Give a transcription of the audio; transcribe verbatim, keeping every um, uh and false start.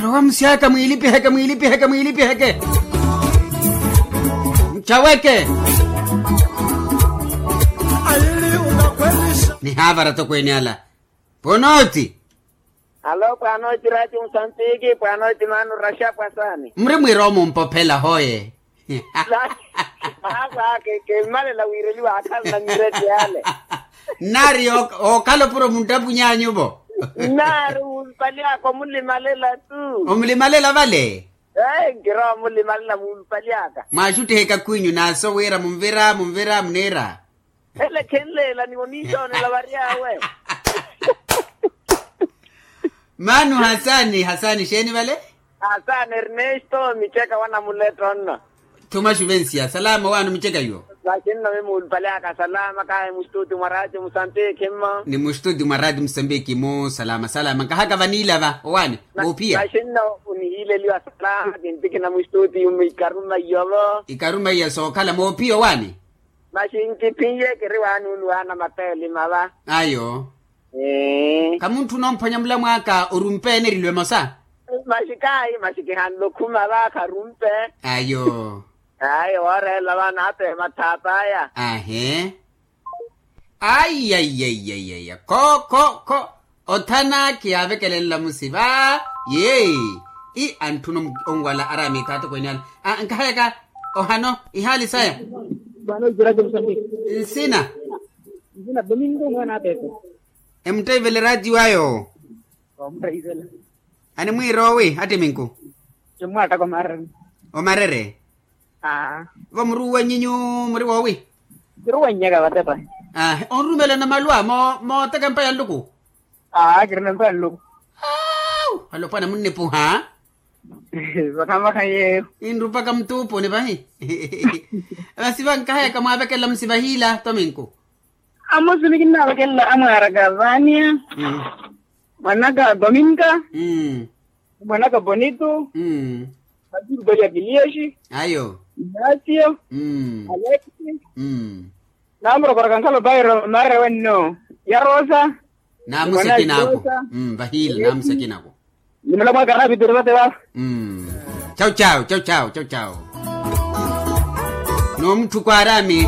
Rowa musyaka mwiilipiheke mwiilipiheke mwiilipiheke. Muchaweke. Nihaavara tokweene ala. Pwonooti. Alo pwaanooti raati musantiki pwaanooti maanu raxa pwasani. Muri mwiira omumpophela hoye. Mahaakwaha. Kimmalela wiireliwa akhala na mireti yale. Nnaari okhala opuro munttapuny'anyu-vo. Nnaari wuupalyaka omulimalela-tu. Omulimalela vale. Ee nkirowa omulimalela wuupalyaka. Mwaaxuttiha ekakhw'inyu naaso wira munvira munvira muniira. Ele khenleela ni oniisoonela varyawe. Maanu hasani hasani xeeni vale? Hasani ernesto micheka wa namuletta onna. Thuma xuvensiya salama owaani omicheka yo. Maxinno mimuulupalihaka salama kahi mustuti mwa raati musambiki mmo. Ni mustuti mwa raati musambiki mu salama salama nkahaka vaniilava owaani voophiya. Maxinno onihiileliwa salama kintikina mustuti ikarummaiyovo. Ikarummaiya sookhala moophiya owaani. Maxi nkiphiye kiri waanuuluwana mapeelima va. Ayo. Khamuntthuna omphwanya mulamwaaka orumpe ene erilwe emosa. Maxi kaayi maxi kihanle okhuma va kharumpe. Ayo. Ayo wooreela va naapeema thaap'aya. Ahe. Aiyaiyaiyaiya kho kho kho. Othana khiyaavekelela musiva. Yee. I antthuna onwala araami ekaatokweene ala. Nkahayaka ohano ihaali saya. Nsina. Nsina domingo mwana apepe. Emuttaivela eraatiyo ayo. Omuttaivela. Animwiira owi attiminku. Kimmwaattaka omarere. Omarere. Vo muruuwany'inyu muri woowi? Kiruuwannyaka vatepa. Onrumelana maluwa mooteka empa ya nluku. Aa kirina empa ya nluku. Alopwana munnipuha. Vakhamvakha yeeyo. Inrupaka mutuupuni vahi. Masi vankahayaka mwaavekelela musivahiila tominku. Amosi nikinnavekelela amwaaraka vania. Mwanaka dominka. Mwanaka bonito. Matiuto ya kiliesi. Ayo. Inasio. Alexi. Namurokoraka nkhala opairo marere wenno ya rosa. Namusekinako. Vahiila namusekinako. Nimula mwaka araapitiri vate vava. Chau chau chau chau chau chau. N'omutthuko araami.